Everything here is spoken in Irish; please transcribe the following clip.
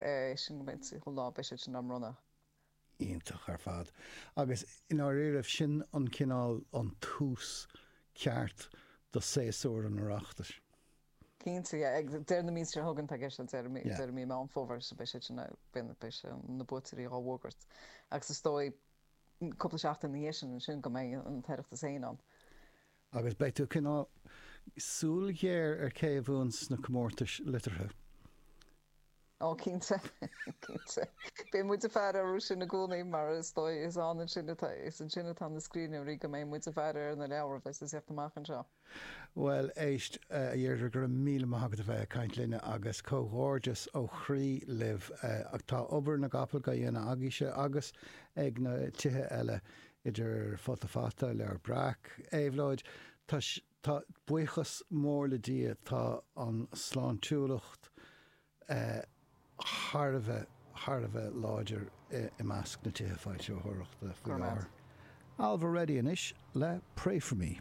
É sin go mbeidh an lá, beidh siad sin á mbronnadh. Iontach ar fad. Agus i ndáiríribh, sin an cineál, an tús ceart do séasúr an Oireachtais. Cinnte, yeah. Ag deireadh na míosa seo chugainn tá i gceist, deireadh mí, deireadh mí Meán Fómhair, so beidh siad sin, beidh, beidh sé, na buaiteoirí á bhfógairt. Agus is dóigh, cúpla seachtain ina dhiaidh sin ansin go mbeidh an tOireachtas féin ann. Agus beidh tú cineál súil ghéar ar cé a bhuann sna comórtais liteartha. Ó, cinnte, cinnte. Beidh muid ag faire orthu sin i gcónaí mar is dóigh is ann ansin atá, is ansin atá na scríbhneoirí go mbeidh muid ag faire ar na leabhair a bheas ag teacht amach anseo. Bhuel, éist, a Dheirdre, go raibh míle maith agat a bheith ag caint linne agus comhghairdeas ó chroí libh. Tá obair na gcapall á dhéanamh agaibhse agus ag na tithe eile, idir Futa Fata, Leabhar Breac, Éabhlóid. Tá, tá, buíochas mór le Dia, tá an sláintiúlacht thar a bheith, thar a bheith láidir i measc na tithe foilsitheoireachta faoi láthair. Ailbhe Reddy anois le Pray For Me.